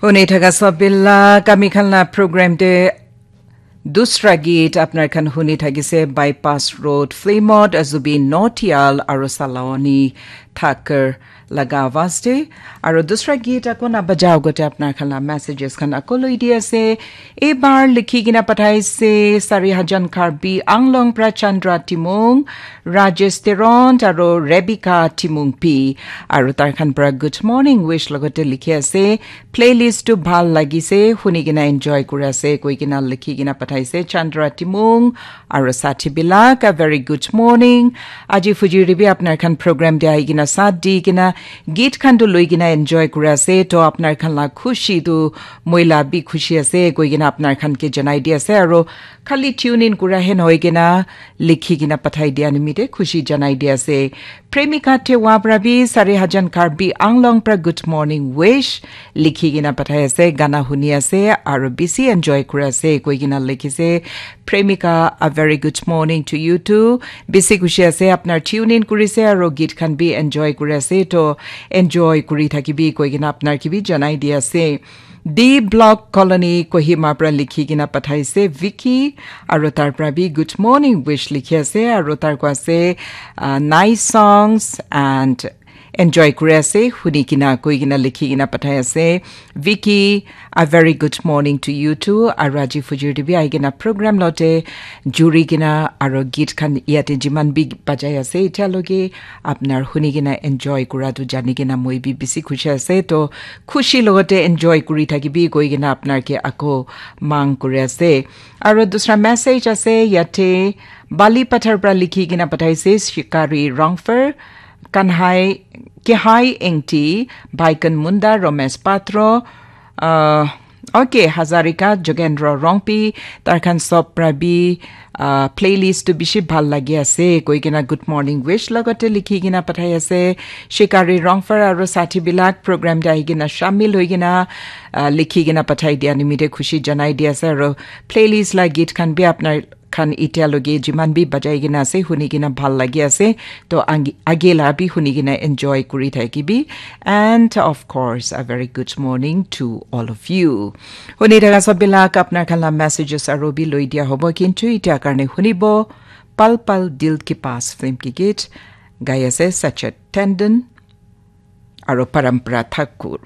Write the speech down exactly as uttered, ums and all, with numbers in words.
Huni thaka sabila kami khan la program te dusra geet apnar khan huni thakise Bypass Road Flimot Azubin Nautiyal aru Saloni Thakur laga awaz te. Aru dusra geet ako na bajao gote apnar khan la messages khan ako loi di ase. Ebar likhi kena pathaise Sari Hajan Karbi Anglong pra Chandra Timung, Rajesh Teron aru Rebecca Timung P. Aru tar khan pra good morning wish logote likhi ase. Playlist tu bhal lagise, huni kena enjoy kuri ase koi kena likhi kena pathaise Chandra Timung aru sathi bilak a very good morning. Aji fujiri bi apnar khan program te ahi kena sat di kena geet khan tu loi kena enjoy kuri ase. To apnar khan la khushi tu moi la bi khushi ase koi kena apnar khan ke janai di ase. Aru khali tune in kura he nohoi kena likhi kena pathai dia nimite khushi janai di ase. Premika Tewa pra bi Sari Hajan Karbi Anglong pra good morning wish likhi kena pathai ase, gana huni ase aru bisi enjoy kuri ase koi kena likhi ase. Premika, a very good morning to you too. Bisi khushi ase apnar tune in kuri ase aru geet khan bi enjoy kuri ase, to enjoy kuri thakibi koi kena apnar ke bi janai di ase. D Block Colony Kohima pra likhi kena pathaise Vicky aru tar pra bi good morning wish likhi ase aru tar ko ase uh, nice songs and enjoy kuri ase huni kena koi kena likhi kena pathai ase. Vicky, a very good morning to you too. Aru aji fujir te bi ahi kena program lote juri kena aru geet khan yate jiman bi bajai ase itya loge apnar huni kena enjoy kura tu jani kena moi bi bisi khushi ase. To khushi logote enjoy kuri thakibi koi kena apnar ke ako mang kuri ase. Aru dusra message ase yate Bali Pathar pra likhi kena pathaise Shikari Rongfer, Kanhai Kehai Engti, Baikan Munda, Romesh Patro, uh, okay, Hazarika, Jogendra Rongpi, tar khan sob pra bi uh, playlist tu bishi bhal lagi ase koi kena good morning wish logote likhi kena pathai ase. Shikari Rongfer aru sathi bilak program te ahi kena shamil hoi kena uh, likhi kena pathai dia nimite khushi janai di ase aru playlist la geet khan bi apnar khan itya loge jiman bi bajai kena ase huni kena bhal lagi ase. To angi- age la bi huni kena enjoy kuri thakibi. And of course, a very good morning to all of you. Huni thaka sob bilak apnar khan la messages aru bi loi dia hobo kintu itya karne hunibo Pal Pal Dil Ke Paas film ki geet gai ase Sachet Tandon aru Parampara Thakur.